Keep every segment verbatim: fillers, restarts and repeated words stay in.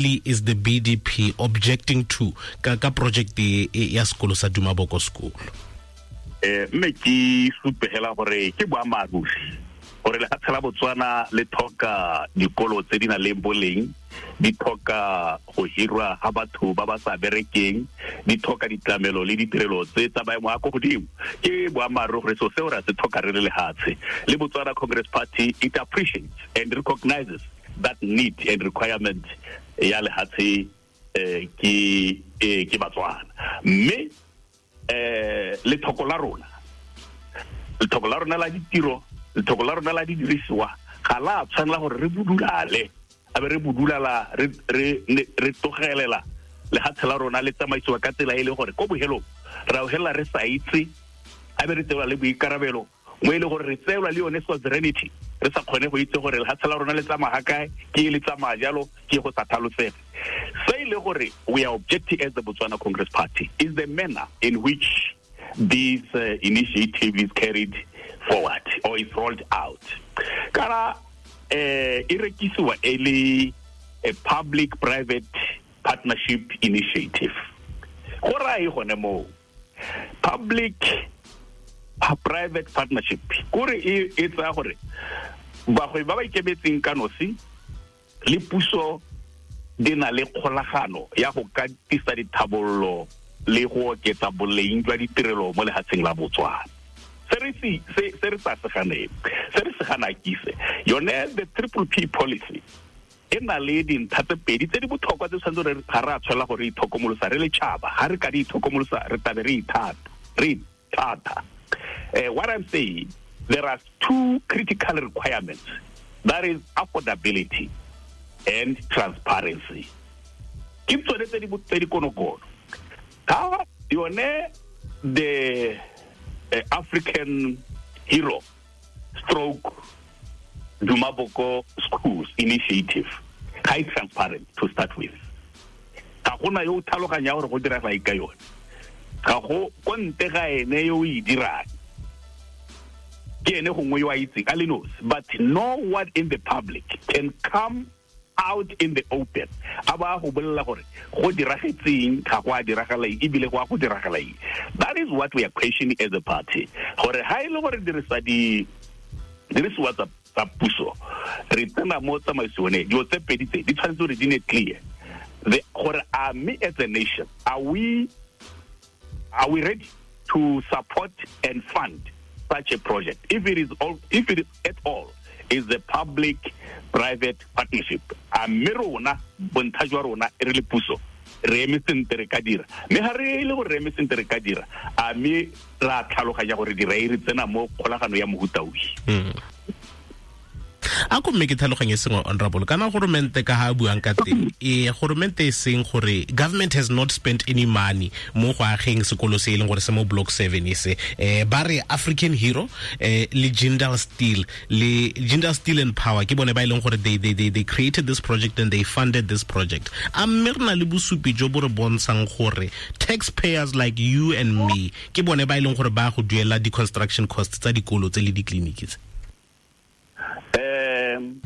Is the B D P objecting to ka ka project e ya sekolo sa Duma Boko School? Eh mme ke supegela gore ke boammaaruri gore lefatshe la Botswana le tlhoka dikolo tse di nang le boleng, di tlhoka go hirwa ga batho ba ba sa berekeng, di tlhoka ditlamelo le ditirelo tse tsa maemo a ko godimo. Ke boammaaruri gore seo seo re se tlhoka re le lehatshe. Le Botswana Congress Party, it appreciates and recognizes that need and requirement ya lehatshe eh ke eh ke Batswana. Mme eh lethoko la rona lethoko la rona la ditiro, lethoko la rona la didirisiwa ga la tshwanela gore re budulale, a be re budulala re re re tlogelela lehatshe la rona le tsamaisiwa ka tsela e le gore ko bohelong ra hela re sa itse, a be re tsewa le boikarabelo mo e le gore re tseelwa le yone sovereignty, re sa kgone go itse gore lehatshe la rona le tsamaya kae, ke le tsamaya jalo, ke go sa tlhalosege. Se e le gore we are objecting as the Botswana Congress Party is the manner in which this uh, initiative is carried forward or is rolled out. Kana eh e rekisiwa e le a public private partnership initiative. Go raya gone moo public private partnership kore e e tsaya gore bagwebi ba ba ikemetseng ka nosi le puso di na le kgolagano ya go ka tisa dithabollo le go oketsa boleng jwa ditirelo mo lefatsheng la Botswana. Se re se se re sa se ganeng, se re se gana kise yone the triple P policy e na le dintlha tse pedi tse di botlhokwa tse tshwanetse re ga re a tshwanela gore re itlhokomolosa re le tšhaba. Ga re ka di itlhokomolosa re tlabe re ithata re ithata. Uh, what I'm saying, there are two critical requirements. That is affordability and transparency. Ke tsone tse di tse di konokono. Ga yone the uh, African Hero stroke Duma Boko Schools initiative ga e transparent to start with. Ga gona yo o tlhaloganya gore go direga eng ka yone. Ga go ko ntle ga ene yo o e dirang, ke ene gongwe yo a itseng a le nosi, but no one in the public can come out in the open a ba go bolela gore go diragetseng, ga go a diragala eng, ebile go a go diragala eng. That is what we are questioning as a party, gore ha e le gore dirisa di dirisiwa tsa tsa puso re tsena mo tsamaisong e, dilo tse pedi tse di tshwanetse gore di ne clear. The gore a me as a nation, are we are we ready to support and fund such a project if it is all, if it is at all is a public private partnership? A mme rona bontlha jwa rona re le puso re eme sentle re ka dira, mme ga re le gore re eme sentle re ka dira, a mme ra tlhaloganya gore dira e re tsena mo kgolagano ya mohuta o. A ko mme ke tlhaloganye sengwe, honorable, kana goromente ka ha buang ka teng, e goromente e seng gore government has not spent any money mo go ageng sekolo se e leng gore se mo block seven e se, eh ba re African Hero eh le Jindal Steel le Jindal Steel and Power ke bone ba e leng gore they they they they created this project and they funded this project. A mme re na le bosupi jo bo re bontshang gore taxpayers like you and me ke bone ba e leng gore ba go duela di construction costs tsa dikolo tse le di-clinic tse? Um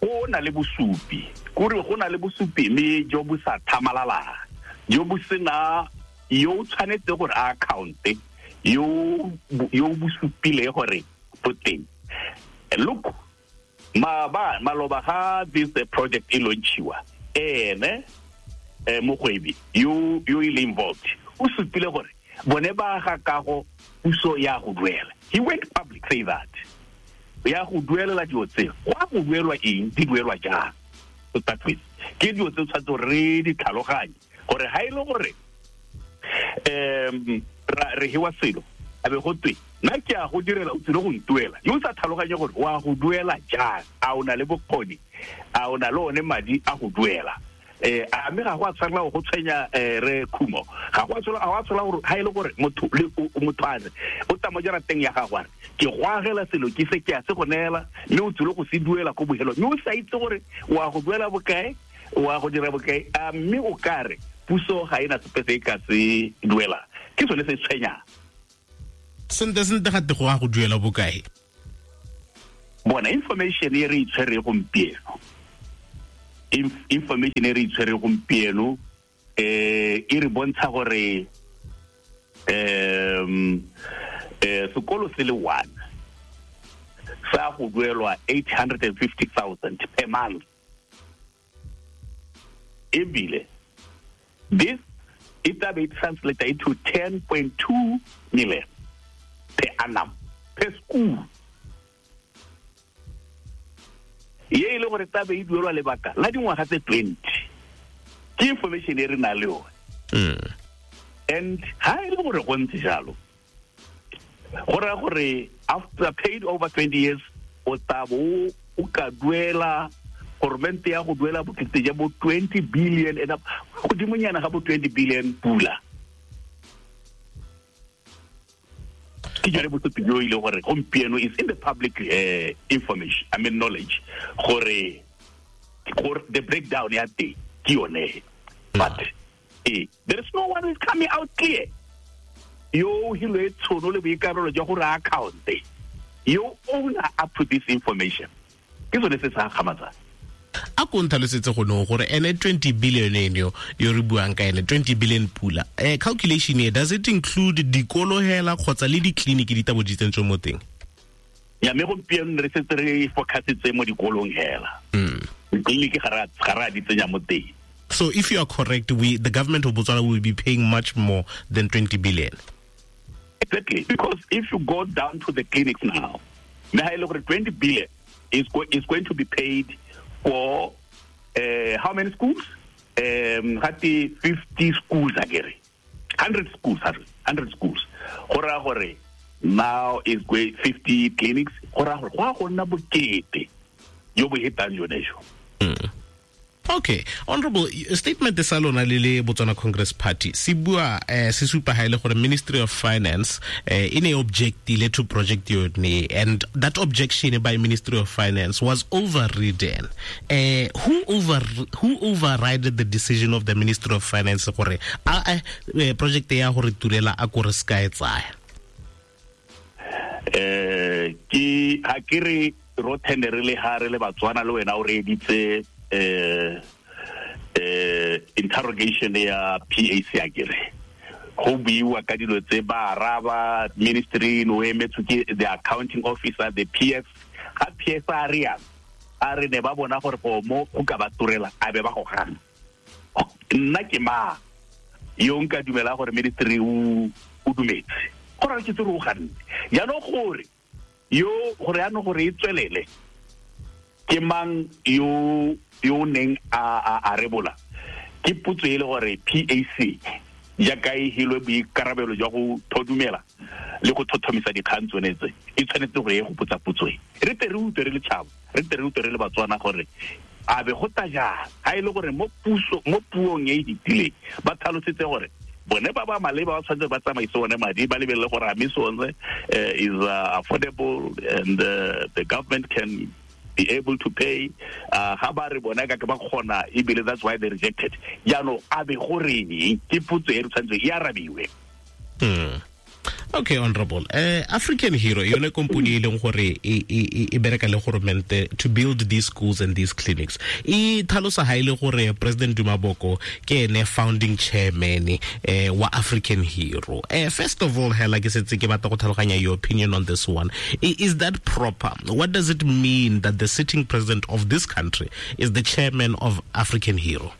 go na le bosupi, kore go na le bosupi mme jo bo sa tlhamalalang, jo bo sena yo o tshwanetse gore a account-e yo yo bo supile gore bo teng. Look, ma ba maloba ga this project e launchiwa, ene eh mogwebi yo yo ile involved o supile gore bone ba ga kago puso ya go duela. He went public say that ya go duelela dilo tse, go a go duelwa eng, di duelwa jang? To start with, ke dilo tse tshwanetse gore re di tlhaloganye gore ha e le gore um re hewa selo a be go twe nna ke a go direla o tsile go ntuela, yo o sa tlhaloganye gore wa go duela jang, a o na le bokgoni, a o na le one madi a go duela. Eh a mme ga go a tshwanela go tshwenya re Khumo, ga go a tshwanela ga go a tshwanela gore ha e le gore motho le motho a re o tsa mo jarateng ya gagwe a re ke go agela selo ke se ke a se go neela, mme o tsile go se duela ko bohelong, mme o sa itse gore wa go duela bokae, wa go dira bokae, a mme o ka re puso ga ena sepe se e ka se duela. Ke sone se tshwenyang. Sente sente ga te go a go duela bokae? Bona information e re itshwere gompieno information e re itshwere gompieno eh e re bontsha gore um eh sekolo se le one sa go duelwa eight hundred fifty thousand per month. Ebile this it be translated into ten point two million per annum per school. Ye ile gore tabe e duelwa lebaka la dingwaga tse twenty. Ke information e re na le yone. And ha e le gore go ntse jalo, go raya gore after paid over twenty years o tabo o ka duela government ya go duela bokete ja bo twenty billion and godimonyana ga bo twenty billion pula. Ke jare bosupi jo ile gore gompieno is in the public uh, information, I mean knowledge, gore gore the breakdown ya teng ke yone. But eh, there is no one who is coming out clear. Yo hilwe tshono le boikarabelo jwa gore account yo owner up to this information. Ke sone se sa gamatsang. A ko ntlhalosetse go no gore ene twenty billion eno yo re buang ka ene twenty billion pula eh calculation e does it include dikolo hela kgotsa le di-clinic di tabo di tsentswe mo teng? Ya me gompieno re setse re focusitse mo dikolong hela. Clinic ga ra ga ra di tsenya mo teng. So if you are correct, we the government of Botswana will be paying much more than twenty billion. Exactly, because if you go down to the clinics now, twenty billion is, go, is going to be paid for uh, how many schools? Um, fifty schools, again. one hundred schools, one hundred schools. Hora hore, now is fifty clinics. Hora hore, go go nna bokete yo bo hetang yone jo. Okay, honorable statement sa lona le le Botswana Congress Party se bua eh se supa ha ile gore Ministry of Finance eh in a objectile to project yone, and that objection by Ministry of Finance was overridden. Eh who over who overrided the decision of the Ministry of Finance gore a project ya gore turela a gore ska e tsaya? Eh ke ha ke re ro tendere le ha re le Batswana le wena o re editse eh eh interrogation ya P A C akere go buiwa ka dilo tse ba araba ministry no emetswe ke the accounting officer, the P S. Ga P S a re ya a re ne ba bona gore go mo go ka ba turela a be ba go gana. Nna ke ma yo nka dumela gore ministry o o dumetse gore ke tsere o ganne jaanong gore yo gore ya no gore e tswelele ke mang yo yo neng a a a rebola ke putso e le gore P A C jaaka e hilwe boikarabelo jwa go thodumela le go thothomisa dikgang tsone tse e tshwanetse gore e go putsa putso e re tle re utlwe re le tšhaba, re tle re utlwe re le Batswana gore a be go ta jang ha e le gore mo puso mo puong e e ditileng ba tlhalosetse gore bone ba ba maleba ba tshwanetse ba tsamaise one madi ba lebelele gore a mme sone is uh, affordable and uh, the government can be able to pay. Ga ba re bona ka ke ba kgona ebile that's why they rejected. Jaanong a be goreng ke potso e re tshwanetse e arabiwe. Mm. Okay, honorable. Uh, African Hero, yone company e leng gore e e e bereka le government to build these schools and these clinics. E tlhalosa ha ile gore President Duma Boko ke ene founding chairman eh wa African Hero. Eh first of all, hela ke setse ke batla go tlhaloganya your opinion on this one. Is that proper? What does it mean that the sitting president of this country is the chairman of African Hero?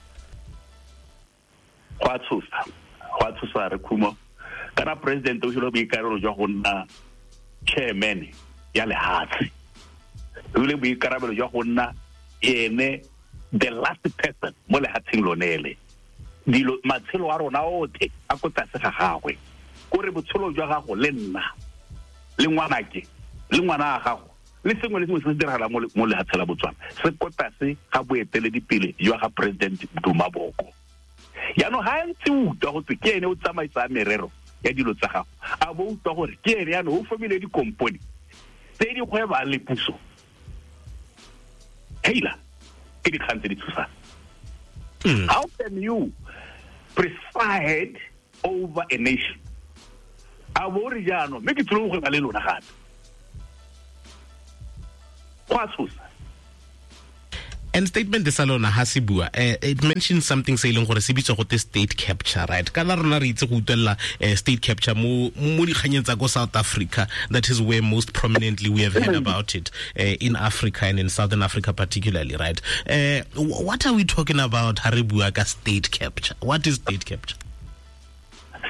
Go a tshosa. Go a tshosa re khumo. Kana president o hilo boikarabelo jwa go nna chairman ya lehatshe. O hilo boikarabelo jwa go nna ene the last person mo lehatsheng lone le. Dilo matshelo a rona otlhe a ko tlase ga gagwe. Kore botshelo jwa gago le nna le ngwanake le ngwana a gago le sengwe le sengwe se se diragalang mo lehatsheng la Botswana se ko tlase ga boeteledipele jwa ga President Duma Boko. Jaanong ga ntse o utlwa go twe ke ene o tsamaisang merero ya dilo tsa gago a bo utlwa gore ke ene jaanong o fomile dikompone tse di gwebang le puso. Heila ke dikgang tse di tshosang. How can you preside over a nation? A bo re jaanong mme ke tlile go gweba le lona gape. Go a tshosa. And statement sa lona ha se bua, it mentions something se leng gore se bitswa gote state capture, right? Kana rona re itse go utlwella state capture mo mo dikganyeng tsa ko South Africa. That is where most prominently we have heard about it uh, in Africa and in Southern Africa particularly, right? Uh, what are we talking about ha re bua ka state capture? What is state capture?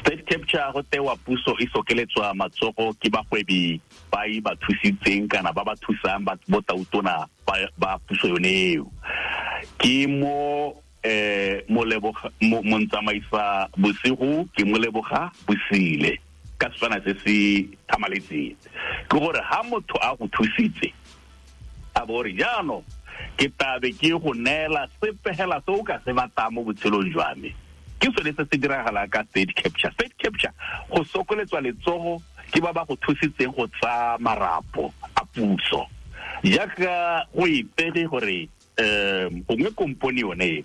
State capture go tewa puso e sokeletswa matsogo ke bagwebi ba e ba thusitseng kana ba ba thusang ba botautona ba ba puso yone eo. Ke mo eh moleboga montsamaisa bosigo ke moleboga bosile ka setswana se se thamaletseng. Ke gore ha motho a go thusitse a bo re jaanong ke tabe ke go neela sepe hela se o ka se batlang mo botshelong jwa me. Ke sone se se diragala ka state capture. State capture go sokoletswa letsogo ke ba ba go thusitseng go tsaya marapo a puso. Jaaka go ipege gore um gongwe kompone yone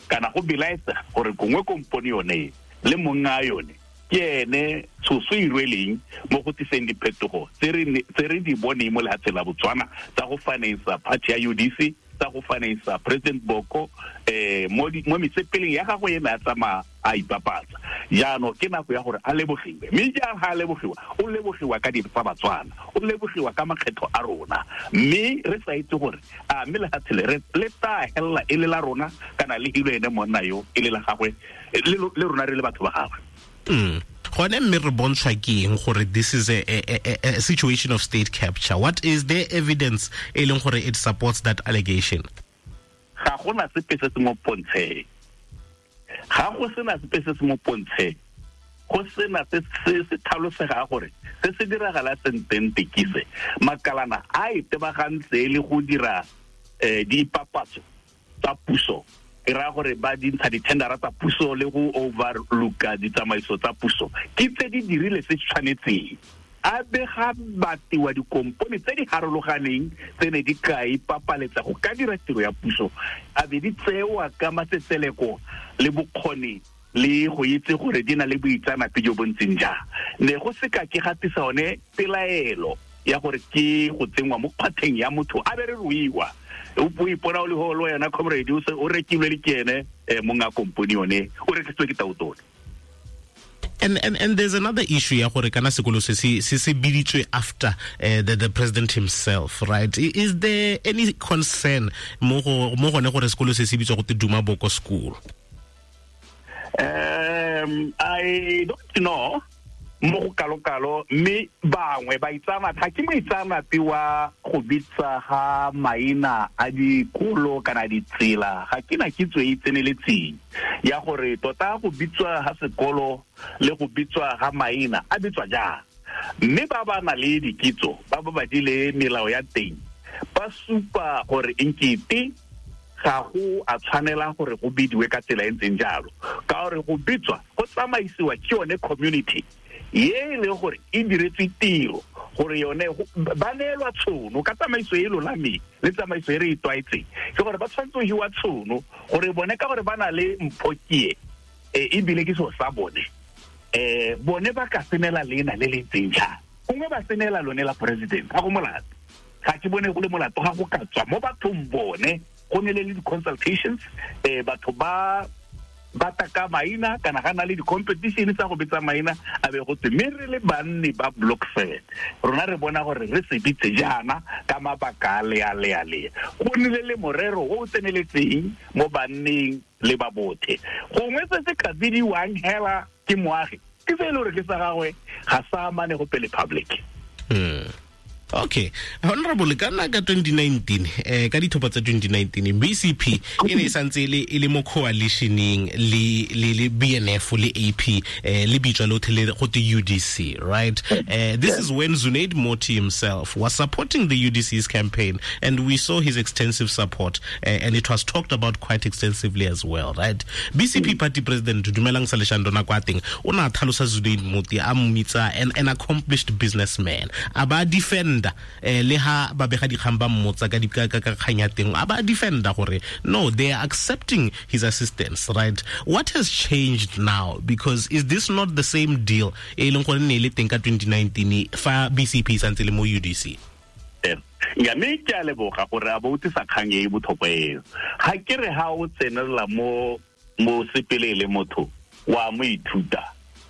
kana go belaetsa gore gongwe kompone yone le monga yone ke ene tshoso e rweleng mo go tliseng diphetogo tse re di boneng mo lefatsheng la Botswana tsa go finance party ya U D C, tsa go finance President Boko eh mo mo metsepeleng ya gagwe ena a tsamaya a ipapatsa. Jaanong ke nako ya gore a lebogiwe, mme jang ha a lebogiwa, o lebogiwa ka dintho tsa Batswana, o lebogiwa ka makgetho a rona, mme re sa itse gore a mme lefatshe le le tla hella e le la rona kana le hilo ene monna yo e le la gagwe le rona re le batho ba gagwe. Mm. Gone mme re bontshwa ke eng gore this is a, a, a, a situation of state capture? What is the evidence e leng gore it supports that allegation? Ga gona sepe se se mo pontsheng. Ga go sena sepe se se mo pontsheng. Go sena se se se tlhalosega gore se se diragala sentente ke se. Makalana a itebagantse le go dira eh dipapatso tsa puso. E raya gore ba dintsha di-tendera tsa puso le go overlooka ditsamaiso tsa puso ke tse di dirile se tshwanetseng. A be ga batiwa dikompone tse di harologaneng tse ne di ka ipapaletsa go ka dira tiro ya puso, a be di tsewa ka matsetseleko le bokgoni le go itse gore di na le boitseanape jo bo ntseng jang. Ne go se ka ke gatisa one pelaelo ya gore ke go tsenngwa mo kgwatheng ya motho a be re ruiwa. O ipona o le holo yena comrade o se o rekilwe le ke ene monga kompone yone o rekisitswe ke tautona. And and and there's another issue ya gore kana sekolo se se se biditswe after uh, the the president himself, right? Is there any concern mo go mo gone gore sekolo se se bitswa go te Duma Boko School? Um I don't know mo go kalokalo, mme bangwe ba itsamata ke moitseanape wa go bitsa ga maina a dikolo kana ditsela. Ga ke na kitso e tseneletseng ya gore tota go bitswa ga sekolo le go bitswa ga maina a bitswa jang, mme ba ba na le dikitso ba ba badile melao ya teng ba supa gore enkete ga go a tshwanela gore go bidiwe ka tsela e ntseng jalo, ka gore go bitswa go tsamaisiwa ke yone community ye e leng gore e diretswe tiro gore yone ba neelwa tshono ka tsamaiso e lolameng le tsamaiso e re e tlwaetseng. Ke gore ba tshwanetse go hiwa tshono gore bone ka gore ba na le mpho ke e ebile ke seo sa bone um bone ba ka senela leina le le ntseng jang, gongwe ba senela lone la president. Ga go molato, ga ke bone go le molato ga go ka tswa mo bathong bone go ne le le di-consultations um batho ba ba taka maina kana ga na le di-competition tsa go bitsa maina a be go tse, mme re le banni ba block seven rona re bona gore re se bitse jaana ka mabaka a le a le a le. Go nnile le morero o o tseneletseng mo banneng le ba bothe. Gongwe se se ka bidiwang hela ke moagi ke se e le gore ke sa gagwe ga sa amane go pele public. Mm. Okay, honorable, kana ka twenty nineteen eh ka dithopa tsa twenty nineteen B C P e ne e santse le e le mo coalitioning le le le B N F le A P eh le bitswa lothe le go te U D C, right? Eh this is when Zunaid Moti himself was supporting the U D C's campaign, and we saw his extensive support, eh, and it was talked about quite extensively as well, right? B C P party president Dumelang Saleshando nako a teng o na tlhalosa Zunaid Moti a mmitsa an, an accomplished businessman, a ba defend eh le ha ba bega dikgang ba mmotsa ka di ka ka kgang ya teng a ba defender gore no, they are accepting his assistance, right? What has changed now? Because is this not the same deal e leng gore ne le teng ka twenty nineteen fa B C P santse le mo U D C? Eh Ya mme ke a leboga gore a bo o tlisa kgang e e botlhokwa eo. Ga ke re ha o tsenelela mo mo sepele le motho wa mo ithuta,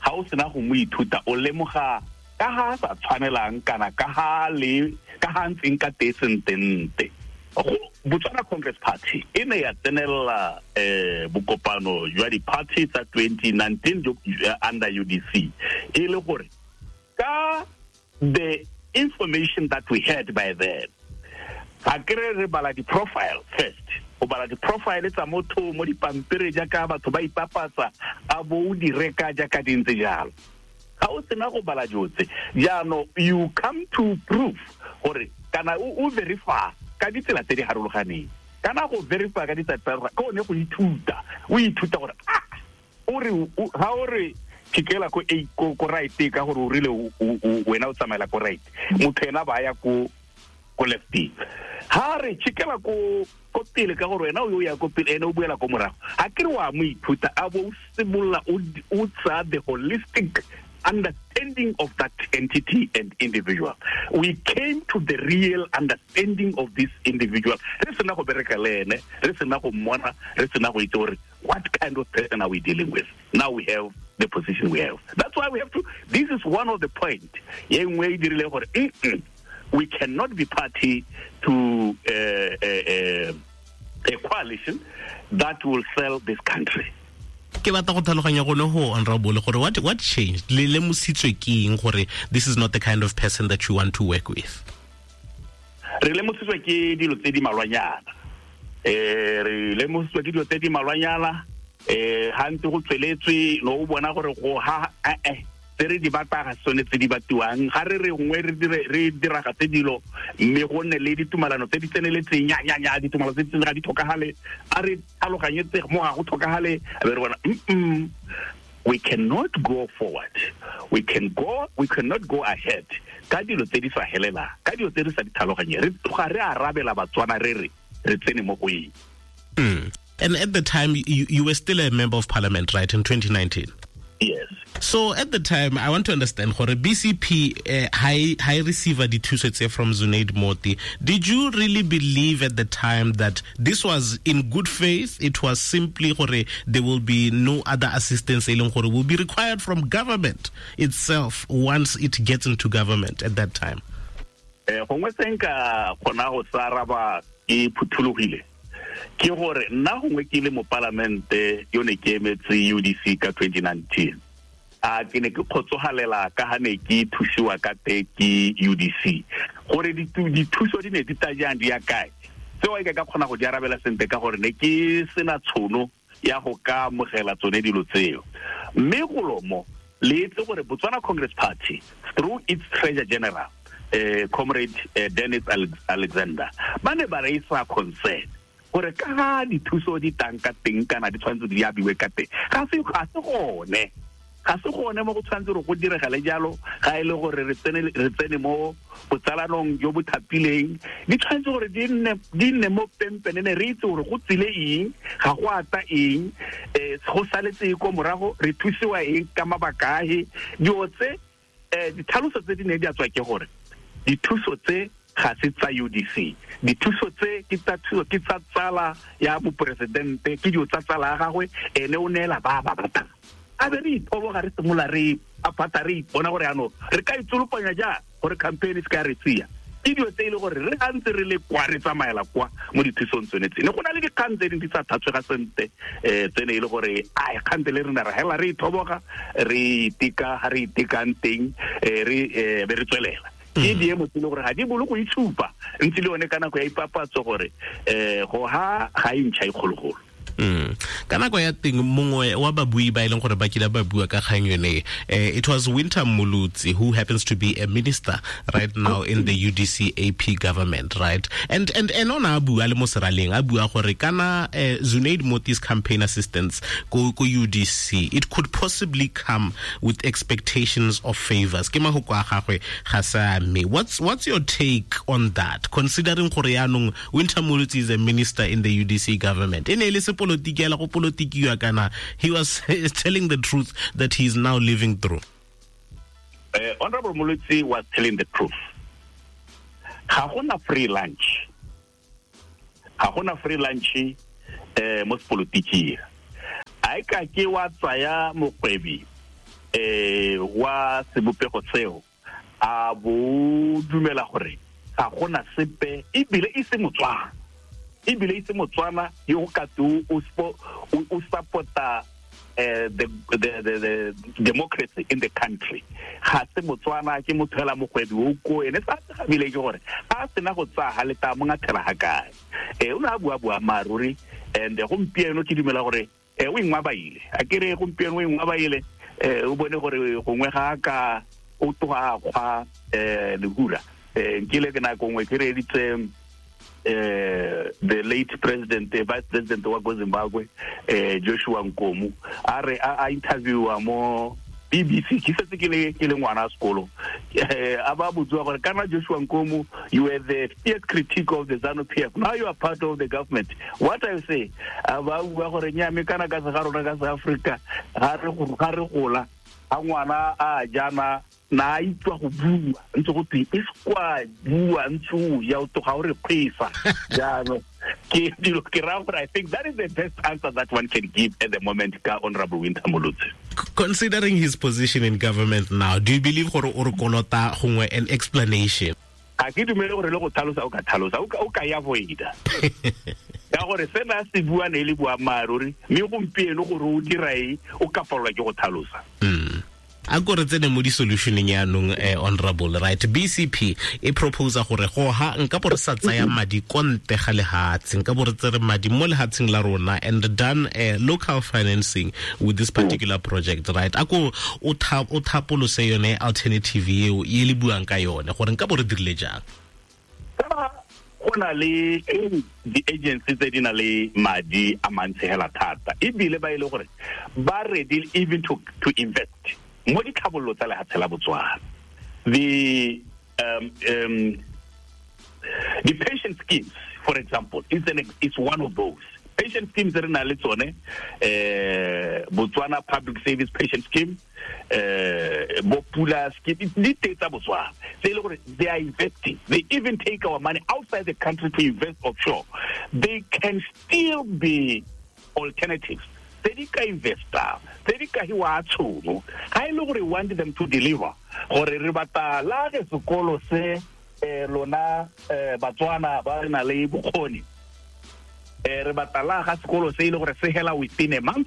ga o sena go mo ithuta o lemoga ka ha sa tshwanelang kana ka ha le ka ha ntseng ka teng sentente. Go Botswana Congress Party e ne ya tsenelela eh bokopano jwa di-party tsa twenty nineteen under U D C, e le gore ka the information that we had by then, ga ke re re bala di-profile first, o bala di-profile tsa motho mo dipampiri jaaka batho ba ipapatsa, a bo o di reka jaaka di ntse jalo. Ga o sena go bala dilo tse jaanong, you come to prove gore kana o verify ka ditsela tse di harologaneng, kana go verify ka ditsela tse ke one go ithuta, o ithuta gore ah o re ha o re phikela ko a ko ko right ka gore o rile wena o tsamaela ko right, motho ena ba ya ko ko left, ha re chikela ko ko pele ka gore wena o ya ko pele ene o buela ko morago. Ha ke re wa mo ithuta a bo o simolola o tsa the holistic understanding of that entity and individual. We came to the real understanding of this individual. Re sena go bereka le ene, re sena go mmona, re sena go itse gore what kind of person are we dealing with. Now we have the position we have. That's why we have to, this is one of the point. Ye nngwe e dirile gore we cannot be party to uh, a, a, a coalition that will sell this country. Ke batla go tlhaloganya gone go honorable gore what what changed, le lemositswe ke eng gore this is not the kind of person that you want to work with? Re lemositswe ke dilo tse di malwanyana, eh re lemositswe ke dilo tse di malwanyana, eh ha ntse go tsweletswe no o bona gore go ha eh tse re di batla ga sone tse di batiwang, ga re re nngwe re dire re diragatse dilo mme go nne le ditumalano tse di tseneletseng, nya nya nya ditumalano tse di ga di tlhokagale, a re tlhaloganyetse mo ga go tlhokagale, a be re bona mm we cannot go forward, we can go we cannot go ahead ka dilo tse di sa helela, ka dilo tse re sa di tlhaloganye, re tloga re arabela Batswana re re re tsene mo go eng. And at the time you, you were still a member of parliament, right, in twenty nineteen? Yes. So at the time, I want to understand, gore B C P uh, high high receiver dithuso tse from Zunaid Moti, did you really believe at the time that this was in good faith? It was simply gore there will be no other assistance e leng gore will be required from government itself once it gets into government at that time? Eh gongwe se nka kgona go sa araba ke phuthologile ke gore nna gongwe ke le mo parliamente yo ne ke emetse U D C ka twenty nineteen, a ke ne ke kgotsogalela ka ha ne ke thusiwa ka te ke U D C, gore dithuso di ne di tla jang di ya kae, tseo e ka kgona go di arabela sentle ka gore ne ke sena tshono ya go ka amogela tsone dilo tseo. Mme golomo le itse gore Botswana Congress Party through its Treasurer General eh Comrade eh, Dennis Alexander ba ne ba raisa concern gore ka ga dithuso di tang ka teng kana di tshwanetse di abiwe ka teng, ga se ga se gone ga se gone mo go tshwanetse gore go diregale jalo, ga e le gore re tsene re tsene mo botsalanong jo bo thapileng, di tshwanetse gore di nne di nne mo pempenene, re itse gore go tsile eng, ga go ata eng, eh go saletse ko morago, re thusiwa eng ka mabaka ahe. Dilo tse eh ditlhaloso tse di ne di a tswa ke gore dithuso tse ga se tsa U D C, dithuso tse ke tsa thuso ke tsa tsala ya moporesidente, ke dilo tsa tsala ya gagwe, ene o neela ba ba batlang. A be re ithoboga re simolola re apata re ipona gore ano re ka itsolopanya jang gore campaign e se ka re tsia. Ke dilo tse e le gore re ga ntse re le kwa re tsamaela kwa mo dithusong tsone tse, ne go na le dikgang tse dingwe di sa thatswega sentle, um tsene e le gore ai kgante le rena re hela re ithoboga re iteka ga re itekang teng, um re be re tswelela. Ke diemo tse e le gore ga di bolo go itshupa ntse le yone ka nako ya ipapatso gore um go ha ga e ntšha e kgologolo. Mm. Ka nako ya teng mongwe wa babui ba e leng gore ba kile ba bua ka kgang yone, eh, it was Winter Molutsi, who happens to be a minister right now in the U D C A P government, right? And and and ona a bua le mo seraleng a bua gore kana eh, Zunaid Moti's campaign assistance ko ko U D C, it could possibly come with expectations of favors. Ke mahoko a gagwe ga sa me. What's what's your take on that, considering gore yaanong Winter Molutsi is a minister in the U D C government? E ne e le sepolotiki go politikiwa kana he was telling the truth that he is now living through? Uh, Honorable Molutsi was telling the truth. Ga gona free lunch. Ga gona free lunch eh mo sepolotiking. A e ka ke wa tsaya mokgwebi eh wa sebopego seo a bo dumela gore ga gona sepe ebile e se Motswana. Ebile e se Motswana yo ka tu o o support-a Uh, the, the the the democracy in the country. Ga se Motswana ke motho hela mogwebi o ko ene sa ga bile ke gore a sena go tsa ha leta mo ngathela ha kae. Eh o na bua bua maruri and gompieno ke dumela gore eh o ingwa baile. A ke re gompieno o ingwa baile eh o bone gore gongwe ga ka o tloga gwa eh lehura. Eh nkile ke na gongwe ke reditse Uh, the late president, uh, vice president wa Zimbabwe, uh, Joshua Nkomo, a re a interviewa mo B B C, ke setse ke le ke le ngwana sekolo. A ba botswa gore kana Joshua Nkomo, you were the fierce critic of the ZANU P F. Now you are part of the government. What I say, a ba bua gore nya me kana ka se ga rona ka South Africa, ga re ga re gola, a ngwana a jana na itwa go bua ntse go twe e skwa bua ntse ya o tloga o re kgwesa jaanong ke dilo ke ra gore I think that is the best answer that one can give at the moment ka Honorable Winter Molotsi. Considering his position in government now, do you believe gore o re kolota gongwe an explanation? Ga ke dumele gore le go tlhalosa o ka tlhalosa o ka ya voida ka gore sena se bua ne le boammaaruri mme gompieno gore o dira eng o ka palelwa ke go tlhalosa. Mm. A ko re tsene mo di-solutioneng yaanong eh, honorable, right? B C P e proposa gore go ha nka bo re sa tsaya madi ko ntle ga lehatshe, nka bo re tsere madi mo lehatsheng la rona and done eh, local financing with this particular project, right? A ko o thapolose yone alternative eo e le buang ka yone gore nka bo re dirile jang? Go na le di-agency tse di na le madi a mantsi hela thata ebile ba e le gore ba ready even to, to invest mo ditlhabololo tsa lehatshe la Botswana. The um, um, the pension schemes, for example, is an is one of those. Pension schemes re na le tsone, eh Botswana Public Service Pension Scheme, eh bo Pula scheme, di teng tsa Botswana. Tse le gore they are investing. They even take our money outside the country to invest offshore. They can still be alternatives. Tse di ka investa, tse di ka hiwa tshono. Ha e le gore want them to deliver, gore re batla la ge sekolo se eh lona Batswana ba na le bokgoni. Eh re batla la ga sekolo se ile gore se hela within a month.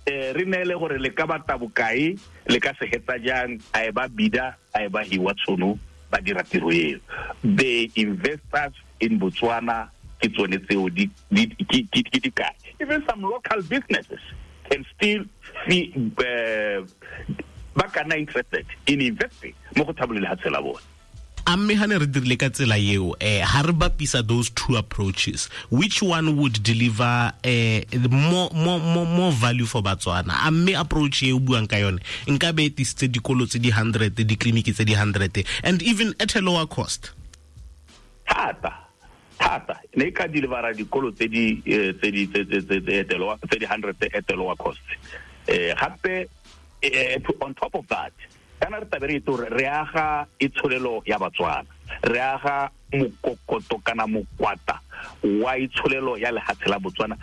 Eh re neele gore le ka batla bokae, le ka se hetsa jang, a e ba bida, a e ba hiwa tshono, ba dira tiro eo. The investors in Botswana ke tsone tseo di di di di kae. Even some local businesses can still be uh, ba ka nna interested in investing mo go thabolole lehatshe la bone. A mme ha ne re dirile ka tsela eo, eh ha re bapisa those two approaches, which one would deliver eh more more more more value for Botswana? A mme approach e o buang ka yone nka be e tisitse dikolo tse di hundred, di-clinic tse di hundred, and even at a lower cost? Thata thata ne ka delivera dikolo tse di tse di tse tse tse di hundred at a lower cost. Eh gape on top of that, kana re tabe re itse gore re aga itsholelo ya Batswana, re aga mokokoto kana mokwata wa itsholelo ya lehatshe la Botswana.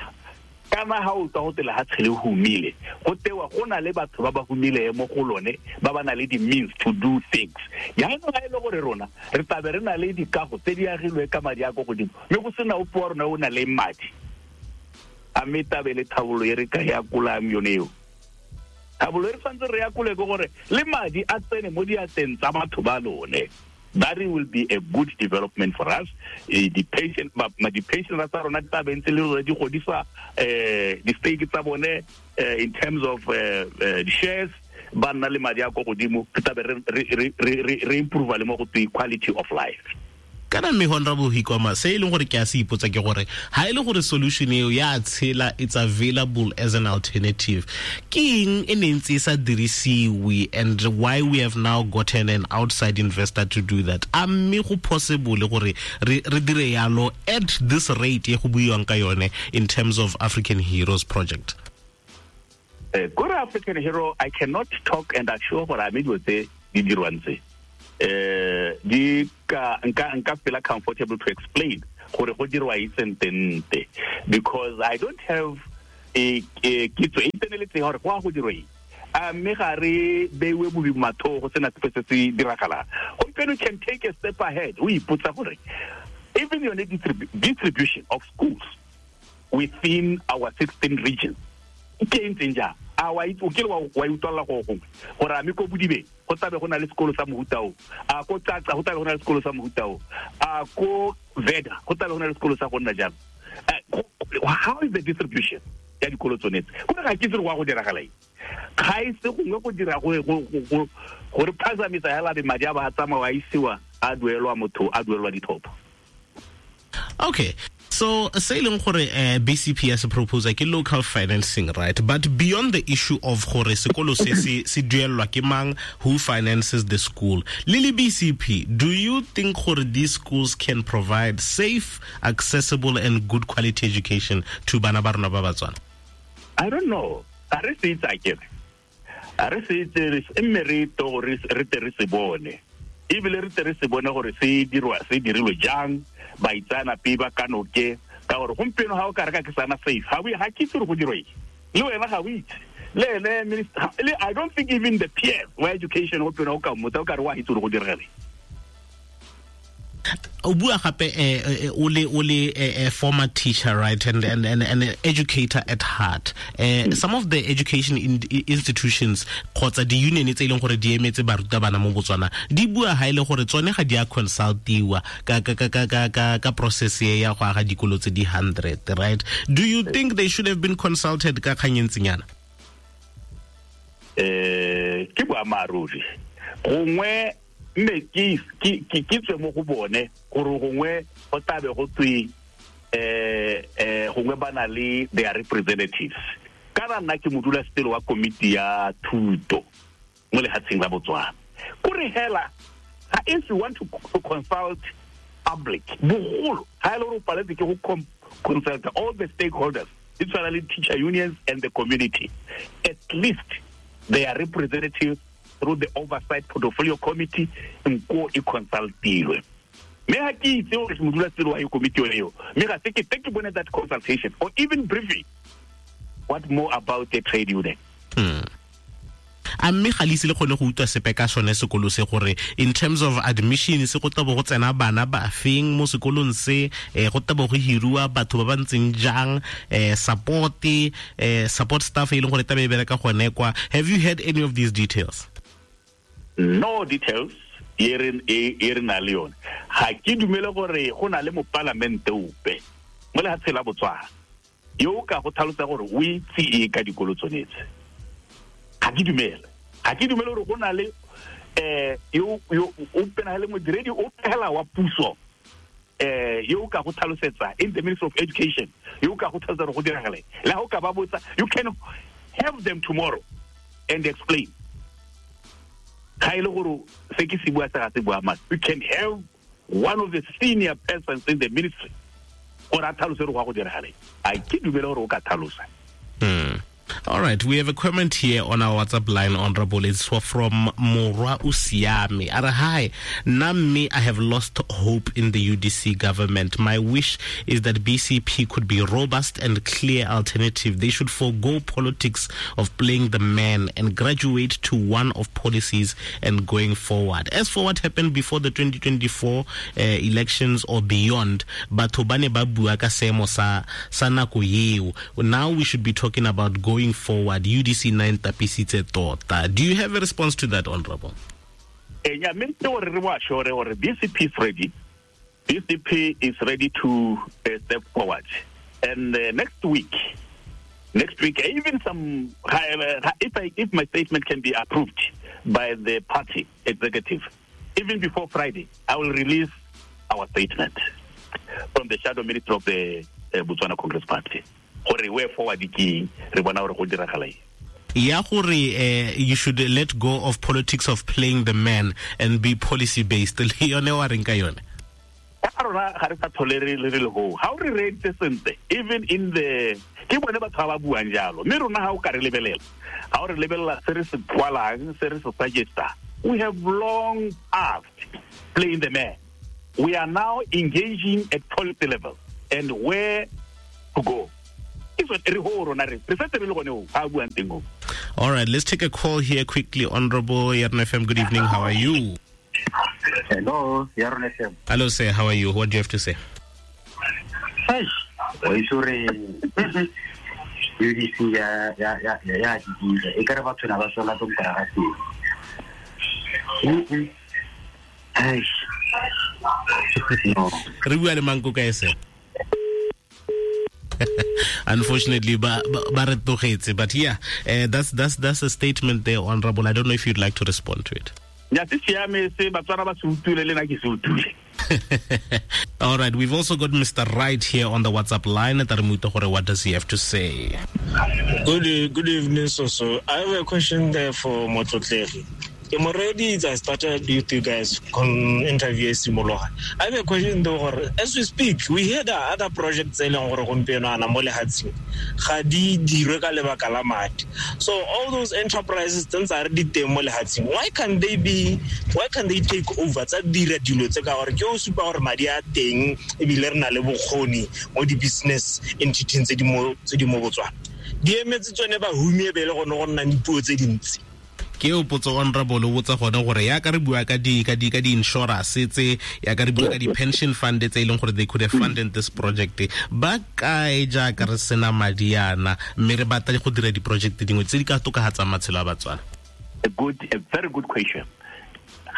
Kana ha o tla go te lehatshe le humile, go tewa go na le batho ba ba humile mo go lone ba ba na le di means to do things. Jaanong ga e le gore rona re tabe re na le dikago tse di agilwe ka madi a ko godimo mme go sena ope wa rona o na le madi, a mme tabe le thabolo e re ka ya kolang yone eo. Thabolo e re tshwanetse re ya kole ke gore le madi a tsene mo diatleng tsa batho ba lone. That will be a good development for us. The patient, the patient tsa rona di tla ntse le rona di godisa eh di-stake tsa bone in terms of uh, the shares, ba nna le madi a ko godimo, re tla be re re re improve le mo go twe quality of life. Kana mme Honorable Hikoma, se e leng gore ke a se ipotsa ke gore ha e le gore solution eo ya tshela, it's available as an alternative, ke eng e ne ntse e sa dirisiwe, and why we have now gotten an outside investor to do that? A mme go possible gore re re dire yalo at this rate e go buiwang ka yone in terms of African Heroes project? Eh, gore African Hero, I cannot talk and assure gore a mme dilo tse di dirwang tse eh di ka nka nka feel comfortable to explain gore go dirwa itsentente, because I don't have a kitso e tseneletseng gore go a go dirwa eng. A mme ga re beiwe bobi matho go sena sepe se se diragalang. Gompieno can take a step ahead, o ipotsa gore even yone distribution of schools within our sixteen regions ke e ntseng jang. A wa itse o kile wa wa utlwalla go gongwe gore a mme ko Bodibeng go tlabe go na le sekolo sa mohuta o, a ko Tsatsa go tlabe go na le sekolo sa mohuta o, a ko Veda go tlabe go na le sekolo sa go nna jalo. How is the distribution ya dikolo tsone tse? Go ga ke itse gore go a go diragala eng. Ga e se gongwe go dira go go gore phazamisa hela be madi a ba tsamaya a isiwa a duelwa motho a duelwa dithopo. Okay. So, say leng gore uh, B C P as a proposal ke local financing, right? But beyond the issue of gore sekolo se se se duelwa ke mang, who finances the school, Lily B C P, do you think gore these schools can provide safe, accessible and good quality education to bana ba rona ba Batswana? I don't know. A re se itse akere. A re se itse mme re to re te re se bone. Ebile re te re se bone gore se dirwa se dirilwe jang. Baitsanape ba kanoke ka gore gompieno ga o ka reka ke sana safe ga o ga ke itse gore go dirwa eng le wena ga o itse le ene minister le I don't think even the P S wa education gompieno o ka mmotsa o ka re wa itse gore go diragala. O bua gape o le o le former teacher, right, and and and an educator at heart. Uh, some of the education in, institutions kgotsa di union tse e leng gore di emetse barutabana mo Botswana di bua ha ile gore tsone ga di a consultiwa ka ka ka ka ka ka process ya go aga dikolo tse di hundred, right? Do you think they should have been consulted ka kgang e ntsinyana? Eh ke boammaaruri gongwe mme ke ke ke tswe mo go bone gore gongwe go tlabe go tswe eh eh gongwe ba na le their representatives. Kana nna ke modulasetilo wa komiti ya thuto mo lefatsheng la Botswana. Kore hela ga if you want to, to consult public bogolo ga e le gore o paletse ke go consult all the stakeholders, it's le teacher unions and the community, at least their representatives through the oversight portfolio committee nko e consultilwe. Mme ga ke itse gore modulasetilo wa komiti yone eo, mme ga se ke te ke bone that consultation or even briefing. What more about the trade union? Hmm. A mme ga le ise le kgone go utlwa sepe ka sone sekolo se gore in terms of admission se go tabo go tsena bana ba feng mo sekolong se, eh go tabo go hiriwa batho ba ba ntseng jang, eh support eh support staff e leng gore tabe e bereka gone kwa. Have you heard any of these details? No details e re e re na le yone. Ga ke dumele gore go na le mopalamente ope mo lefatsheng la Botswana yo o ka go tlhalosa gore o itse e ka dikolo tsone tse. Ga ke dumele. Ga ke dumele gore go na le eh yo yo o pena le modiredi o phela wa puso eh yo o ka go tlhalosetsa in the Ministry of Education yo o ka go tlhalosetsa gore go diragala. Le ha o ka ba botsa, you can have them tomorrow and explain. Ga e le gore se ke se bua se ga se bua mane. You can have one of the senior persons in the ministry gore a tlhalose gore go a go diragala. A ke dumele gore o ka tlhalosa. Hmm. All right, we have a comment here on our WhatsApp line, Honorable. It's from Morwa Usiame. Ara, hi, Nami, I have lost hope in the U D C government. My wish is that B C P could be robust and clear alternative. They should forego politics of playing the man and graduate to one of policies and going forward. As for what happened before the twenty twenty-four uh, elections or beyond, batho ba ne ba bua ka seemo sa sa nako eo. Now we should be talking about going forward. U D C nine tapisitse tota. Do you have a response to that, Honorable? Eh, yeah, mme gore re bo assure gore B C P is ready. B C P is ready to uh, step forward. And uh, next week, next week, even some, if I, if my statement can be approved by the party executive, even before Friday, I will release our statement from the shadow minister of the uh, Botswana Congress Party. Gore way forward ke re bona gore go diragala eng. Ya gore you should let go of politics of playing the man and be policy based. Le yone wa reng ka yone? Ka rona ga re sa tlhole re le re le ho. Ha o re reeditse sentle, even in the ke bone batho ba ba buang jalo. Mme rona ha o ka re lebelela, ha o re lebelela se re se kwalang, se re se suggesta, We have long past playing the man. We are now engaging at policy level and where to go. All right, let's take a call here quickly. Honorable Yarona F M, good evening. How are you? Hello, Yarona F M. Hello, sir. How are you? What do you have to say? Hey, U D C ya ya ya ya e ka re batho na ba sola tong ka ga teng. No. Re bua le mang ko kae se? Unfortunately, ba ba re tlogetse, but yeah, uh, that's that's that's a statement there, Honorable. I don't know if you'd like to respond to it. Nya se siame se Batswana ba se utlwile le nna ke se utlwile. All right, we've also got Mister Wright here on the WhatsApp line. What does he have to say? Good, good evening, Soso. I have a question there for Motlotlegi. I'm already, I started with you guys con interview simologa. I have a question though. As we speak, we hear that other projects tse leng gore gompieno ana mo lehatsheng ga di dirwe ka lebaka la madi. So all those enterprises tse ntse re di teng mo lehatsheng, why can they be why can they take over tsa dira dilo tse ka gore ke o supa gore madi a teng ebile re na le bokgoni mo di business entities tse di mo tse di mo Botswana. Di emetse tsone ba humie be le gone go nna dipuo tse dintsi. Ke o potso Honorable o botsa gone gore ya ka re bua ka di ka di ka di insurance tse ya ka re bua ka di pension fund tse e leng gore they could have funded this project, ba kae jaaka re sena madi ana mme re batla go dira di project dingwe tse di ka tokafatsang matshelo a Batswana? A good a very good question.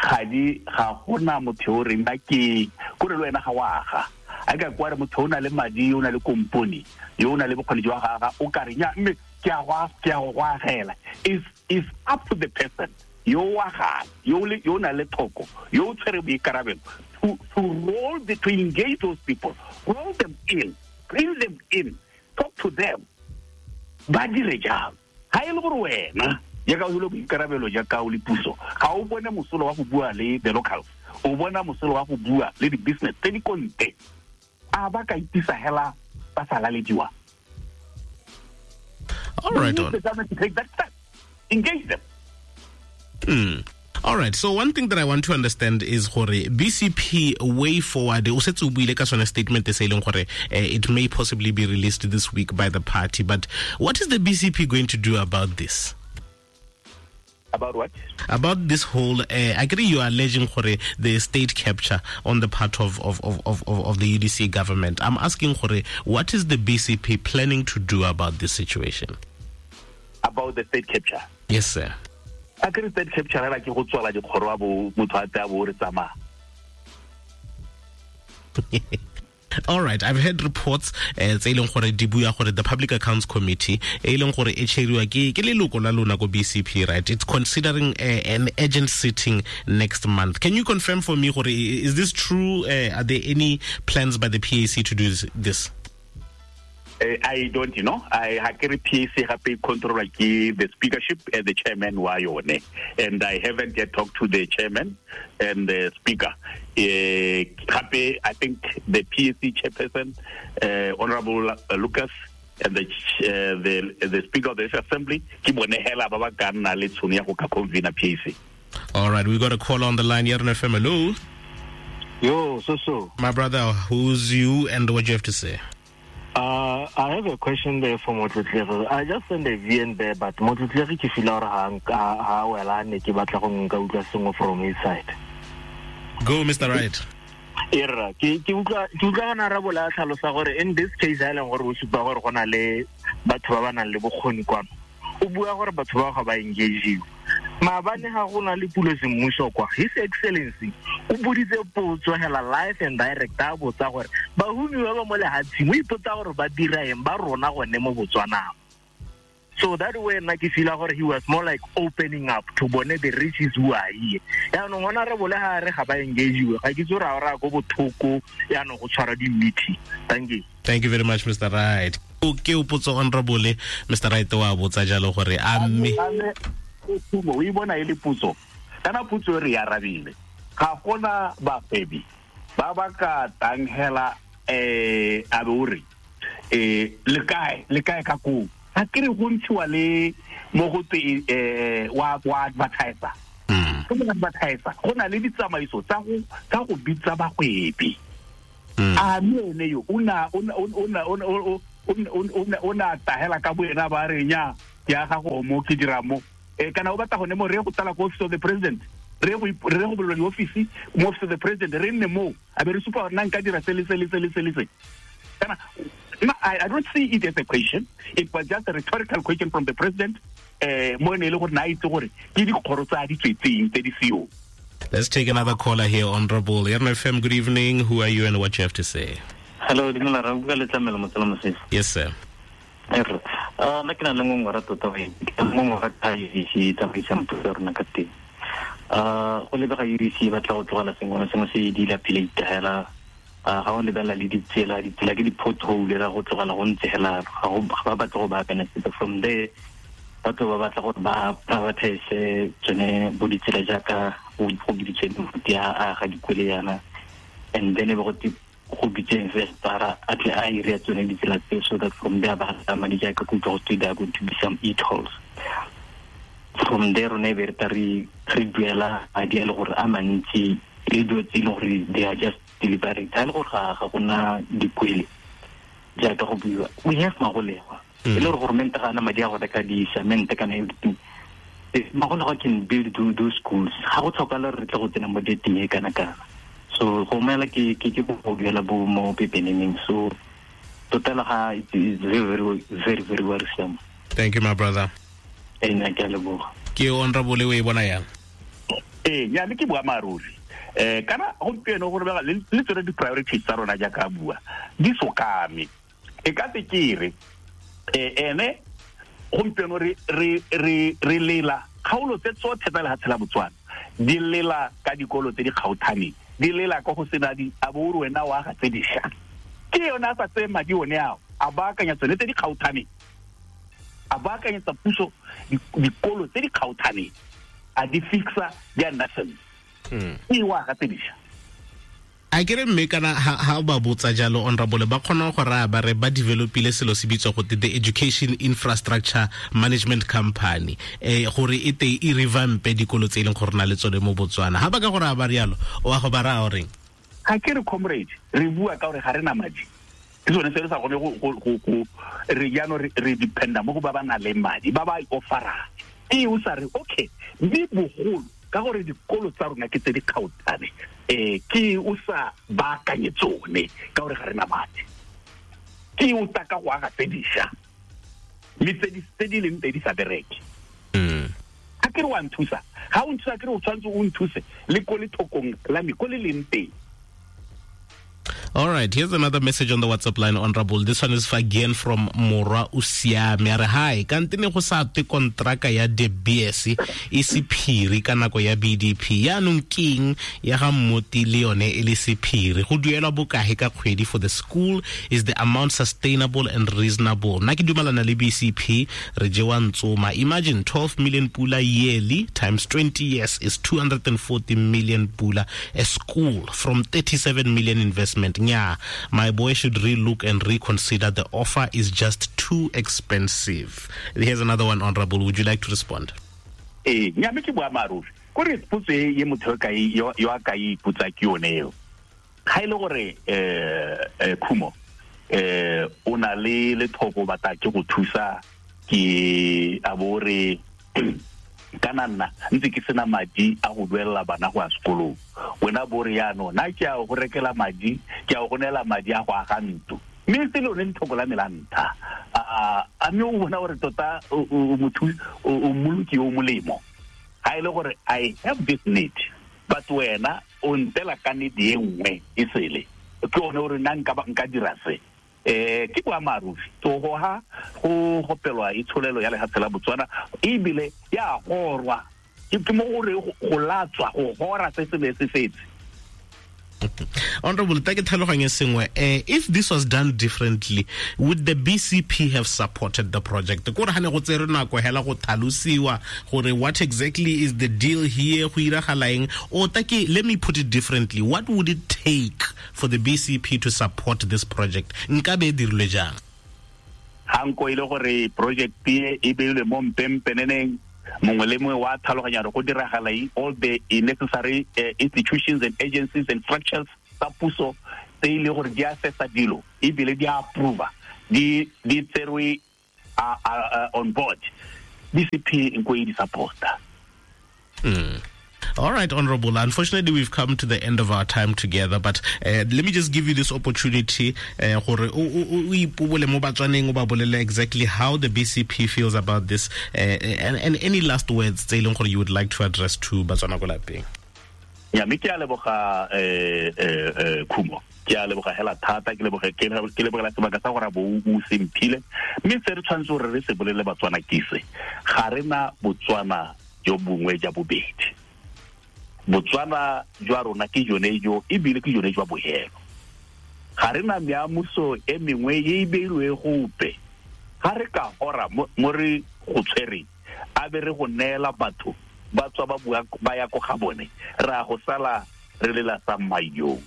Ga di ga gona motho o reng ba ke kore le wena ga wa aga a ka kwa re motho o na le madi o na le kompone yo o na le bokgoni jwa ga aga o ka re nya mme ke a go ke a go agela. Is is up to the person yo wa ga yo le yo na le thoko yo tshwere boikarabelo to to roll the, to engage those people, roll them in, bring them in, talk to them, ba dire jang. Ha e le gore wena ya ka o le boikarabelo jaaka o le puso ga o bone mosolo wa go bua le the locals, o bona mosolo wa go bua le di business tse di konte, a ba ka itisa hela ba sa lalediwa. All right, on. The government to take that step. Engage them. Mm. All right. So one thing that I want to understand is gore B C P way forward. O setse o buile ka sone statement e se leng gore it may possibly be released this week by the party. But what is the B C P going to do about this? About what? About this whole, uh, I agree you are alleging gore the state capture on the part of, of, of, of, of the U D C government. I'm asking gore, what is the B C P planning to do about this situation? About the state capture? Yes, sir. I agree state capture like go tswala dikgoro a bo motho a tla bo re tsamaya. All right, I've heard reports tse e leng gore di bua gore the Public Accounts Committee e leng gore e chairiwa ke ke leloko la lona ko B C P, right? It's considering uh, an urgent sitting next month. Can you confirm for me gore is this true? Uh, are there any plans by the P A C to do this? Uh, I don't know. I ha ke re P A C gape control ke the speakership and the chairman wa yone, and I haven't yet talked to the chairman and the speaker. Uh, gape I think the P A C chairperson, uh, Honorable Lucas, and the uh, the the speaker of the assembly ke bone hela ba ba ka nna le tshono ya go ka convene P A C. All right, we got a call on the line here on F M. Hello. Yo, so so. My brother, who's you and what do you have to say? Uh, I have a question there for Motlotlegi. I just sent a V N there, but Motlotlegi ke feel gore ha ha wela ne ke batla go nka utlwa sengwe from his side. Go, Mister Wright. Erra, ke ke utlwa ke utlwa gona ra bola tlhalosa gore in this case a leng gore o supa gore gona le batho ba ba nang le bokgoni kwano. O bua gore batho ba ga ba engage. Maabane ga go na le pulo semmuso kwa His Excellency o boditse potso hela live and direct a botsa gore bahumi ba ba mo lehatsheng o ipotsa gore ba dira eng ba rona gone mo Botswana. So that way nna ke feel gore he was more like opening up to bone the riches who are here. Yaanong ona re bole ga re ga ba engage ga ke tsore a ra go bothoko yaanong go tshwara di meeting. Thank you. Thank you very much, Mister Wright. Ke o potso Honorable Mister Wright wa botsa jalo gore a mme o e bona e le putso kana putso re ya arabile ga gona bafebi ba ba ka tanghela eh a be eh le kae le kae ka ko a ke re go ntshiwa le mo go tse eh wa wa advertiser Go mo advertise go na le ditsamaiso tsa go tsa go bitsa bagwebi. A mme ene yo o na o na o na o na o na tahela ka boena ba re nya ke aga go mo ke dira mo e kana o batla gone mo re go tala ko office of the president re go re go bolelwa office mo office of the president re nne mo a be re supa gore nna nka dira se le se le se le se le se kana. I, I don't see it as a question. It was just a rhetorical question from the president. Eh mo ne le gore na itse gore ke dikgoro tsa di tswetseng tse di seo. Let's take another caller here, Honorable M F M. Good evening. Who are you and what you have to say? Hello, dumela ra bua le Tlamelo Motsela Mosese. Yes, sir. Er, ah nna ke na le ngongora tota we. Ke ngongora ka U D C tsamaisang puso ya rona ka teng. Ah go lebega U D C ba tla go tlogela sengwe le sengwe se di lapile itahela. Ah ga o lebela le ditsela, ditsela ke di-pothole ra go tlogela go ntse hela ga go ba batla go baakanya sepe. From there batho ba batla gore ba privatize tsone bo ditsela jaaka go biditswe di a ga dikwele yana, and then e be go go bitse investor a tle a ire tsone ditsela tse, so that from there ba ga madi jaaka go utlwa go twe there are going to be some e-tolls. From there rona e be re tla re re duela madi a le gore a mantsi le dilo tse e leng gore they are just deliberate ga e le gore ga ga gona dikwele jaaka go buiwa. We have magolegwa e le gore government ga ana madi a go reka di-cement kana everything. Magolegwa can build those schools. Ga go tlhokala re tle go tsena mo dating e kana kana. So go mela ke ke ke go duela bo mo pepeneneng. So total ga it is very very very very worrisome. Thank you, my brother. E nna ke a leboga. Ke Honorable o e bona yang? Ee, nya le ke boammaaruri. Eh kana gompieno gore ba le tsone di-priorities tsa rona jaaka bua di sokame. E ka se ke re eh ene gompieno re re re re lela kgaolo tse tsotlhe tsa lehatshe la Botswana di lela ka dikolo tse di kgaothaneng, di lela ka go sena di a bo re wena wa ga tse diša. Ke yona a sa tseye madi one ao a baakanya tsone tse di kgaothaneng, a baakanyetsa puso dikolo tse di kgaothaneng, a di fixa di a nna sentle. E wa ga tse diša. A ke re mme kana ha ba botsa jalo Honorable ba kgona go raya ba re ba developile selo se bitswa go the Education Infrastructure Management Company eh gore e te e revampe dikolo tse e leng gore na le tsone mo Botswana. Ha ba ka gore a ba rialo o a go ba raya goreng? Ga ke re comrade re bua ka gore ga re na madi. Ke sone se re sa kgone go go go re jaanong re re dependa mo go ba ba nang le madi ba ba offerang. E o sa re okay mme bogolo ka gore dikolo tsa rona ke tse di kgaotane eh ke o sa baakanye tsone ka gore ga re na madi. Ke o taka go aga tse diša mme tse di tse di leng tse di sa bereke. A ke re wa nthusa, ga o nthusa ke re o tshwanetse o nthuse le ko lethokong la me ko le leng teng. All right, here's another message on the WhatsApp line, Honorable. This one is again from Mora Usiame. A re hi, kante ne go sa twe kontraka ya De Beers e sephiri ka nako ya B D P. Yaanong keng ya ga Mmoti le yone e le sephiri? Go duelwa bokae ka kgwedi for the school? Is the amount sustainable and reasonable? Nna ke dumelana le B C P, re jewa ntsoma. Imagine twelve million pula yearly times twenty years is two hundred forty million pula a school from thirty-seven million investment. Yeah, my boy should relook and reconsider. The offer is just too expensive. Here's another one, Honorable. Would you like to respond? Eh, nya me ke boammaaruri. Kore potso e ye motho ka yo yo a ka ipotsa ke yone eo. Ga ile gore eh Khumo eh o na le lethoko batla ke go thusa ke a bo re kana nna ntse ke sena madi a go duelela bana go ya sekolong. Wena bo re yaanong nna ke a go rekela madi, ke a go neela madi a go aga ntlo. Mme se lone lethoko la me la ntlha. A a mme o bona gore tota o motho o mmoloki o molemo. Ga e le gore I have this need, but wena o ntela ka need e nngwe e sele. Ke one gore nna nka nka dira se. Eh ke boammaaruri to go ha go gopelwa itsholelo ya lehatshe la Botswana ebile ya gorwa ke mo gore go latswa go gora se se ne se setse. Honorable, take tlhaloganye sengwe. Eh, if this was done differently, would the B C P have supported the project? Kore ha ne go tsere nako hela go tlhalosiwa gore what exactly is the deal here, go iragala eng? Or take, let me put it differently, what would it take for the B C P to support this project? Nka be dirilwe jang? Ha nko ile gore project e e beilwe mo mpempeneneng, Mongwe le mongwe wa tlhaloganya gore go diragala eng, all the necessary uh, institutions and agencies and structures tsa puso tse e le gore di assessa dilo ebile di approva di di tserwe on board. B C P nko e di supporta. Mm. All right, Honorable. Unfortunately, we've come to the end of our time together, but uh, let me just give you this opportunity gore o ipobole mo Batswaneng, o ba bolele exactly how the B C P feels about this, uh, and, and any last words tse e leng gore you would like to address to Batswana ko lapeng. Ya, mme ke a leboga eh eh Khumo. Ke a leboga hela thata, ke leboga ke lebogela sebaka sa gore bo o semphile. Mme se re tshwanetse gore re se bolele Batswana ke se. Ga re na Botswana jo bongwe ja bobedi. Botswana jwa rona ke jone jo ebile ke jone jwa bohelo. Ga re na meamuso e mengwe e e beilwe gope. Ga re ka hora mo re go tshwereng, a be re go neela batho ba tswa ba bua ba ya ko ga bone, ra go sala re lela sa mayong.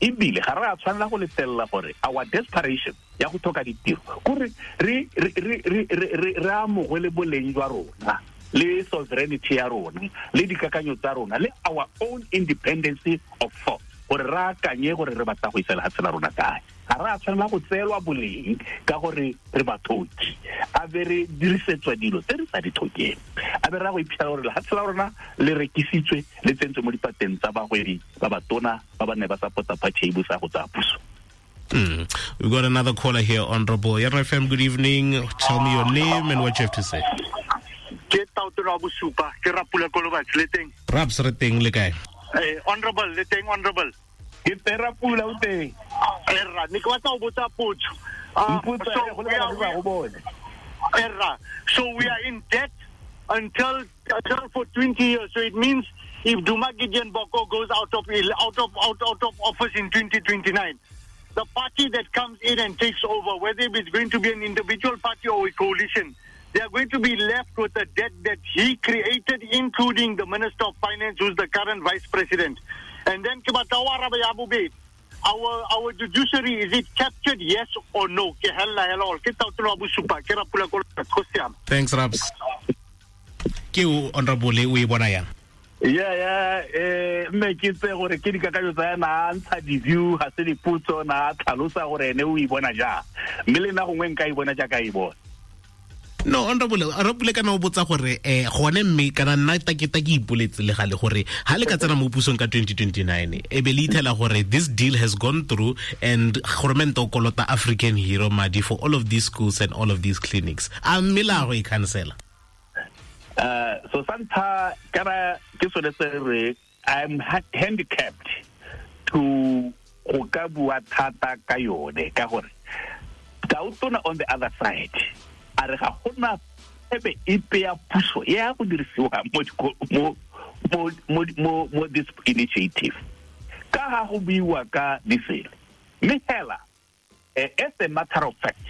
Ebile ga re a tshwanela go letella gore our desperation ya go tlhoka ditiro kore re re re re re re amogele boleng jwa rona le sovereignty ya rona le dikakanyo tsa rona le our own independence of thought, gore re akanye gore re batla go isa lefatshe la rona kae. Ga re a tshwanela go tseelwa boleng ka gore re bathoki, a be re dirisetswa dilo tse re sa di tlhokeng, a be re ya go iphitlhela gore lefatshe la rona le rekisitswe le tsentswe mo dipateng tsa bagwebi ba batona ba ba ne ba support-a party e busa go tsaya puso. Mm. We've got another caller here, Honorable. Yerno F M, good evening. Tell me your name and what you have to say. Ke tautona wa bosupa, ke Rapula Kolobatsi, le teng? Raps, re teng, le kae? Eh, Honorable, le teng, Honorable. Ke teng, Rapula, o teng? Eh, rra, ne ke batla go botsa potso. Mpotsa, go lebala ba go bone. Eh, rra, so we are in debt until, until for twenty years. So it means if Duma Gideon Boko goes out of out of out, out of office in twenty twenty-nine, the party that comes in and takes over, whether it's going to be an individual party or a coalition, they are going to be left with a debt that he created, including the Minister of Finance, who's the current Vice President. And then, our our judiciary, is it captured, yes or no? Thanks, Raps. Ke Honorable, o e bona yang? Yeah, yeah, eh mme ke tse gore ke dikakanyo tsa ena a ntsha di-view, ga se dipotso, na tlhalosa gore ene o e bona jang. Mme le nna gongwe nka e bona jaaka e bona. No, Honorable, Honorable kana o botsa gore eh gone mme kana nna ta ke ta ke ipoletse le gale gore ha le ka tsena mo pusong ka twenty twenty-nine e be le ithela gore this deal has gone through and government o kolota African Hero madi for all of these schools and all of these clinics. A mme la go e cancela? Uh, so santa kana ke sone se re I'm handicapped to go ka bua thata ka yone ka gore Tautona on the other side a re ga gona ebe ipe ya puso ya go dirisiwa mo mo mo mo mo this initiative ka ga go buiwa ka disele mme hela as a matter of fact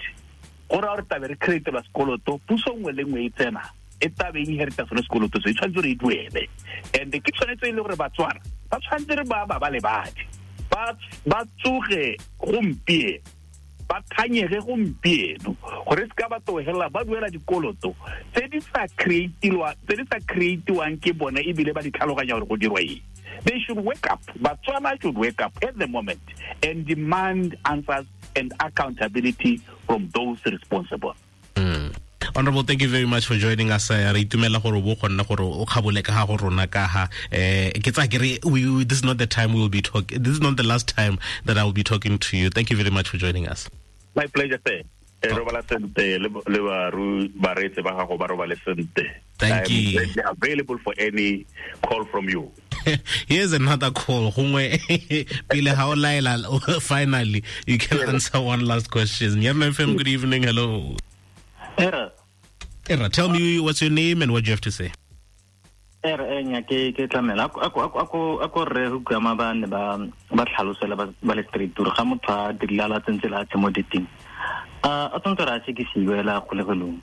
gore re tabe re create ba sekoloto puso nngwe le nngwe e tsena e tabe e inherita sone sekoloto se e tshwanetse re e duele and ke tshwanetse e le gore Batswana ba tshwanetse re ba ba ba lebadi ba ba tsoge gompieno ba thanyege gompieno gore se ka ba togela ba duela dikoloto tse di sa creatiwa tse di sa creatiwang ke bone ebile ba di tlhaloganya gore go dirwa eng. They should wake up. Batswana should wake up at the moment and demand answers and accountability from those responsible. Mm. Honorable, thank you very much for joining us. Re itumela gore bo kgonna gore o kgabole ka ga go rona ka ha eh ke tsa ke re this is not the time we will be talking. This is not the last time that I will be talking to you. Thank you very much for joining us. My pleasure, sir. Robala sente le ba ru baretse ba gago ba robale sente. Thank you. I'm available for any call from you. Here's another call. Gongwe pele ha o laela, finally you can answer one last question. Yerno F M, good evening. Hello. Era. Era, tell me what's your name and what you have to say. Era enya ke ke tlamela ako ako ako ako re go kama ba ne ba ba tlhalosela ba ba le street tour ga motho a dirile la tsentse la tse mo diteng. Uh, a tsontse ra se ke siwela kgolegelong.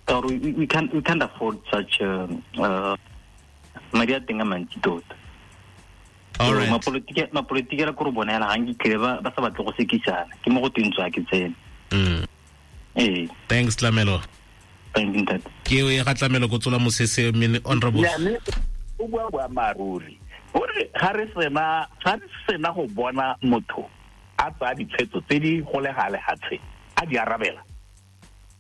Ka gore we can't we can't afford such uh, uh madi a teng a mantsi tota. All right. Mapolitiki mapolitiki ra go bonela ga nkitlile ba ba sa batle go sekisana. Ke mo go teng tswa ke tsene. Mm. Eh. Thanks, Tlamelo. Thank you, ntate. Ke o e ga tlamelo go tsola mosese mme honorable. Ya mme o bua boammaaruri. Gore ga re sena ga re sena go bona motho a tsaya ditshwetso tse di golega lehatshe a di arabela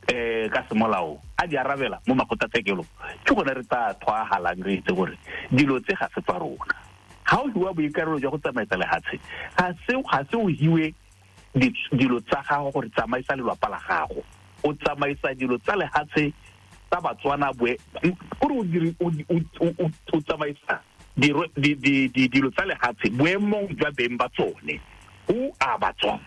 eh ka semolao a di arabela mo makgotlatshekelo ke gone re tla thwagalang re itse gore dilo tse ga se tsa rona. Ga o hiwa boikarabelo jwa go tsamaisa lehatshe ga se ga se o hiwe dilo tsa gago gore tsamaisa lelapa la gago, o tsamaisa dilo tsa lehatshe tsa Batswana boe gore o dire o tsamaisa dilo tsa lehatshe boemong jwa beng ba tsone who are Batswana.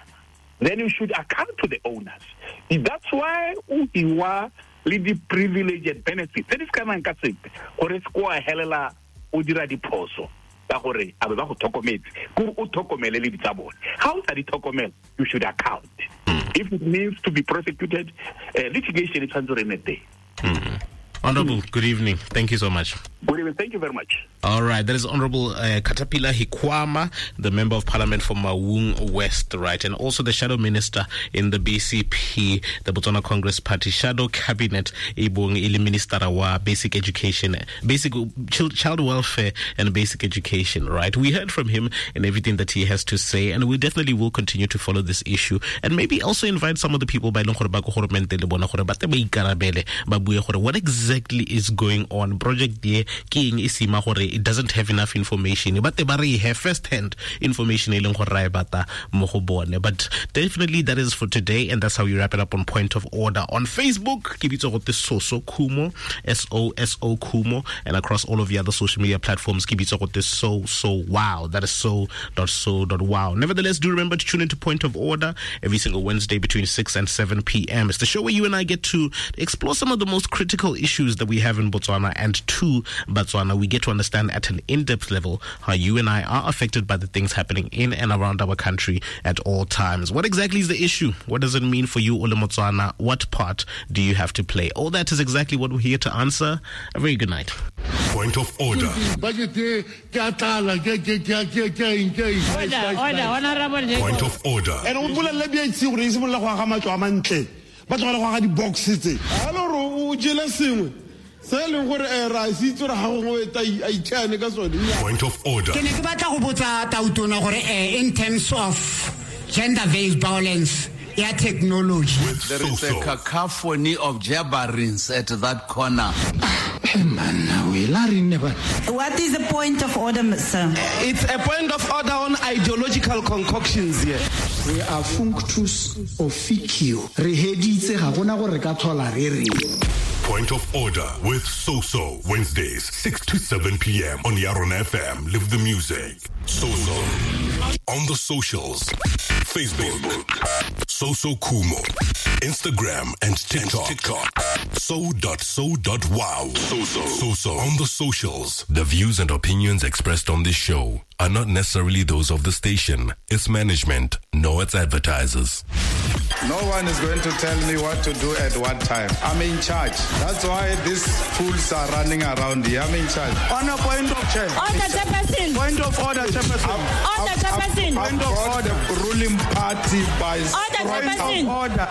Then you should account to the owners. That's why o hiwa le di-privilege and benefits tse di se kanang ka sepe gore se ko a helela o dira diphoso ka gore a be ba go tlhokometse kore o tlhokomele le ditsa bone. Ga o sa di tlhokomela, you should account. If it means to be prosecuted, uh, litigation e tshwanetse gore e nne teng. Honorable, good evening. Thank you so much. Good evening. Thank you very much. All right. That is Honorable uh, Katapila Hikuama, the Member of Parliament for Maung West, right? And also the Shadow Minister in the B C P, the Botswana Congress Party Shadow Cabinet, Ibong Ili Minister wa Basic Education, Basic Child Welfare and Basic Education, right? We heard from him and everything that he has to say, and we definitely will continue to follow this issue and maybe also invite some of the people by what exactly is going on. Project ye ke eng e sima gore it doesn't have enough information, but they have first hand information e leng gore ra e batla mo go bone. But definitely that is for today, and that's how we wrap it up on Point of Order. On Facebook, ke bitsa go te Soso Khumo, S O S O Khumo, and across all of the other social media platforms, ke bitsa go te So So Wow. That is so dot so dot wow. Nevertheless, do remember to tune into Point of Order every single Wednesday between six and seven p.m. It's the show where you and I get to explore some of the most critical issues that we have in Botswana and to Botswana. We get to understand at an in-depth level how you and I are affected by the things happening in and around our country at all times. What exactly is the issue? What does it mean for you, Ole Motswana? What part do you have to play? All that is exactly what we're here to answer. A very good night. Point of order. Order, order, honorable. Point of order. And Point of order. In terms of gender-based violence, yeah, technology. There is a cacophony of jabberings at that corner. What is the point of order, sir? It's a point of order on ideological concoctions here. We are functus officio. Re heditse ga gona gore ka thola re re. Point of Order with Soso, Wednesdays, six to seven p.m. on Yaron F M. Live the music. Soso. On the socials. Facebook, Soso Khumo. Instagram and TikTok. TikTok. So dot so dot wow. Soso. Soso. On the socials. The views and opinions expressed on this show are not necessarily those of the station, its management, nor its advertisers. No one is going to tell me what to do at what time. I'm in charge. That's why these fools are running around here. I'm in charge. On a point of chair. Order, Chairperson. Point of order, Chairperson. Order, Chairperson. Point of order. The ruling party by order, point Chairperson. Of order.